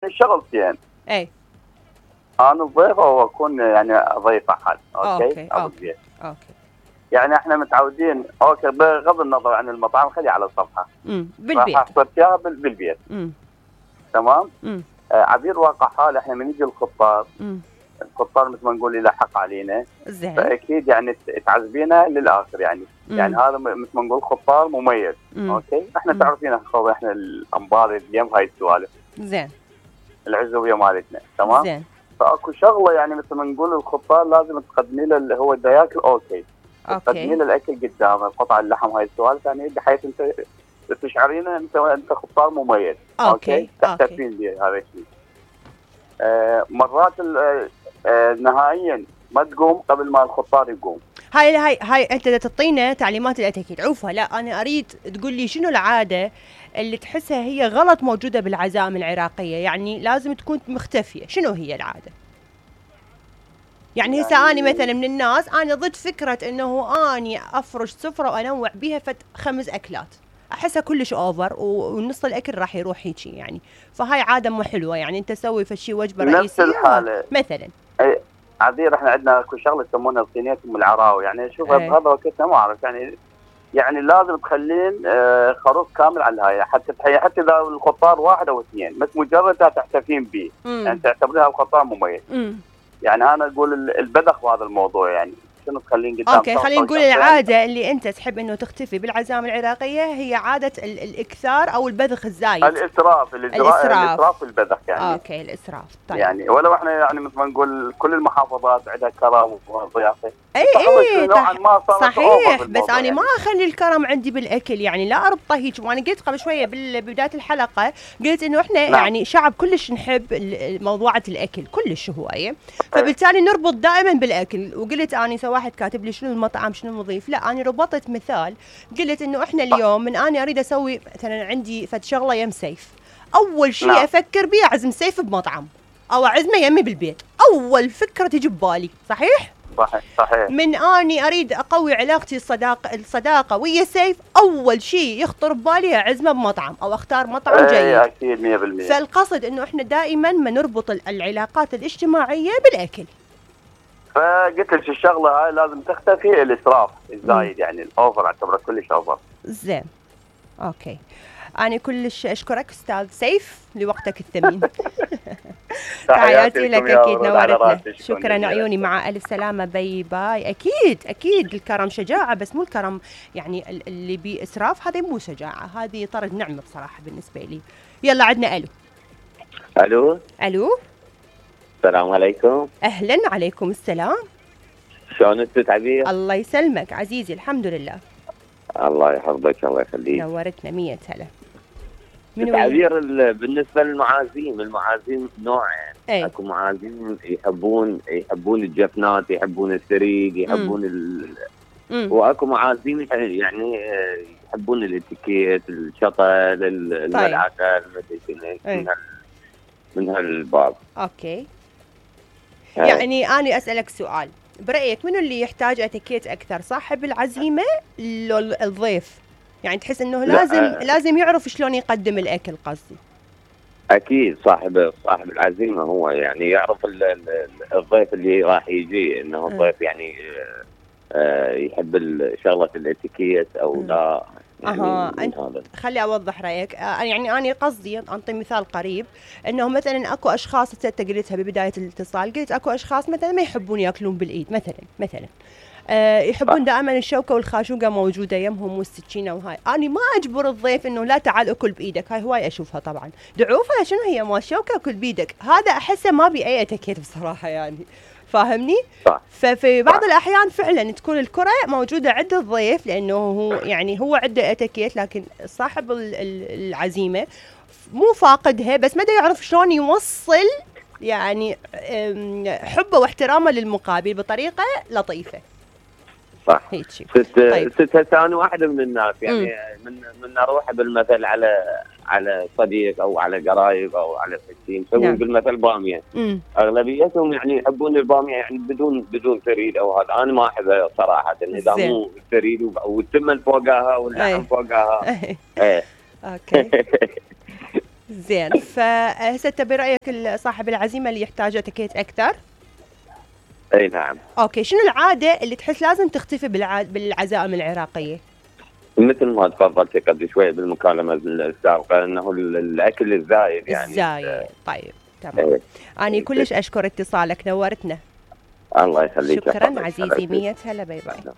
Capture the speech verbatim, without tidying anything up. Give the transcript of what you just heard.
شغلتين. اي انا ضيفه واكون يعني ضيف احد. اوكي اوكي اوكي, أوكي. يعني احنا متعودين اوكي بغض النظر عن المطعم خليه على الصفحه. امم بالبيت. راح احصل فيها بالبيت. امم تمام؟ امم آه عبير واقع حال احنا من يجي الخطار امم الخطار مثل ما نقول يلحق علينا. زين. فاكيد يعني تعذبينه للاخر يعني. مم. يعني هذا مثل ما نقول خطار مميز. مم. اوكي احنا مم. تعرفين خوي احنا الانبار اليوم هاي السوالف. زين. العزوبيه مالتنا تمام. زين. فاكو شغله يعني مثل ما نقول الخطار لازم تقدمي له اللي هو دا ياكل اوكي. تقدمي له الاكل قدامه قطع اللحم هاي السوالف يعني بحيث انت تشعرينه انت انت خطار مميز. اوكي تحتفين به هذا الشيء. آه مرات آه نهائيا ما تقوم قبل ما الخطار يقوم. هاي هاي هاي انت تعطينا تعليمات الاتيكيت. عوفها لا انا اريد تقول لي شنو العاده اللي تحسها هي غلط موجوده بالعزائم العراقيه، يعني لازم تكون مختفيه. شنو هي العاده؟ يعني, يعني هسه اني مثلا من الناس انا ضد فكره انه اني افرش سفره وانوع بيها فت خمس اكلات، احسها كلش اوفر ونص الاكل راح يروح هيجي يعني. فهاي عاده مو حلوه يعني. انت سوي فشي وجبه رئيسيه نفس الحاله مثلا. اي عذير احنا عندنا اكو شغله يسمونها صينيه ام العراوي يعني. شوف بهذا وقتنا ما اعرف يعني يعني لازم تخلين آه خروف كامل على الهاي حتى تحيي حتى اذا الخطار واحد او اثنين بس مجرد تحتفين به يعني تعتبريها الخطار مميز. مم. يعني انا اقول البذخ بهذا الموضوع يعني شنو تخلين قدام. اوكي خلينا نقول العاده اللي انت تحب انه تختفي بالعزائم العراقيه هي عاده ال الاكثار او البذخ الزايد. الاسراف الاسراف الاسراف والبذخ يعني. اوكي الاسراف. طيب يعني ولو احنا يعني مثل ما نقول كل المحافظات عندها كرم وضيافه. اي اي نوعا ما صحيح بس انا يعني. ما اخلي الكرم عندي بالاكل يعني لا اربطه هيك. وانا قلت قبل شويه ببدايه الحلقه قلت انه احنا نعم. يعني شعب كلش نحب موضوعه الاكل كلش هوايه فبالتالي نربط دائما بالاكل. وقلت اني سو واحد كاتب لي شنو المطعم شنو المضيف لا انا ربطت مثال قلت انه احنا اليوم من اني اريد اسوي مثلا عندي فد شغله يم سيف اول شيء نعم. افكر بيه اعزم سيف بمطعم او اعزمه يمي بالبيت. اول فكره تجي ببالي صحيح صحيح صحيح. من اني اريد اقوي علاقتي الصداقه الصداقه ويا سيف اول شيء يخطر ببالي اعزمه بمطعم او اختار مطعم جيد. اي اكيد مية بالمية. فالقصد انه احنا دائما ما نربط العلاقات الاجتماعيه بالاكل. فقلت لك الشغله هاي لازم تختفي الاسراف الزايد يعني الاوفر اعتبره كلش اوفر. زين اوكي انا كلش اشكرك استاذ سيف لوقتك الثمين. تحياتي لك اكيد نورتنا. شكرا عيوني مع الف سلامه باي باي. اكيد اكيد الكرم شجاعه بس مو الكرم يعني اللي باسراف هذا مو شجاعه هذه طرد نعمه بصراحه بالنسبه لي. يلا عندنا الو الو الو السلام عليكم. اهلا عليكم السلام. شلون انت عبير؟ الله يسلمك عزيزي الحمد لله. الله يحفظك الله يخليك. نورتنا مية هلا. من عبير بالنسبه للمعازيم المعازيم نوعين. ايه؟ اكو معازيم يحبون يحبون الجفنات يحبون الثريد يحبون ال... واكو معازيم يعني يحبون الاتيكيت الشطل الملعقه من من هالباب. اوكي هي. يعني انا اسالك سؤال برايك منو اللي يحتاج اتيكيت اكثر صاحب العزيمه لو الضيف؟ يعني تحس انه لازم لا. لازم يعرف شلون يقدم الاكل قصدي. اكيد صاحب صاحب العزيمه هو يعني يعرف الضيف اللي راح يجي انه الضيف يعني يحب شغله الاتيكيت او لا. يعني اها انت خلي اوضح رايك. آه يعني انا قصدي انطي مثال قريب انه مثلا اكو اشخاص انت قلتها ببدايه الاتصال قلت اكو اشخاص مثلا ما يحبون ياكلون بالايد مثلا مثلا آه يحبون دائما الشوكه والخاشوقه موجوده يمهم والسكينه وهاي. انا ما اجبر الضيف انه لا تعال اكل بايدك هاي هواي اشوفها طبعا دعوفه شنو هي مال شوكه اكل بايدك هذا احسه ما بي اي اتيكيت بصراحه يعني فاهمني؟ صح. ففي بعض صح. الأحيان فعلا تكون الكرة موجودة عند الضيف لأنه هو يعني هو عنده اتيكيت لكن صاحب العزيمة مو فاقدها بس ما يعرف شلون يوصل يعني حبه واحترامه للمقابل بطريقة لطيفة. صح. هيك شيء. ست طيب. ست ثاني واحدة من الناس يعني م. من من اروح بالمثل على على صديق او على قرايب او على ستين يسوون نعم. بالمثل باميه. م. اغلبيتهم يعني يحبون الباميه يعني بدون بدون ثريد او هذا. انا ما احبها صراحه اذا مو ثريد والتمن فوقها واللحم فوقها. ايه اوكي. زين، فهسه انت برايك صاحب العزيمه اللي يحتاج اتيكيت اكثر؟ اي نعم. اوكي، شنو العاده اللي تحس لازم تختفي بالع... بالعزائم العراقيه؟ مثل ما تفضلت قبل شوي بالمكالمه السابقه انه الاكل الزايد يعني. الزايد، طيب تمام. انا كلش اشكر اتصالك، نورتنا. الله يخليك. شكرا عزيزي، مية هلا، باي باي.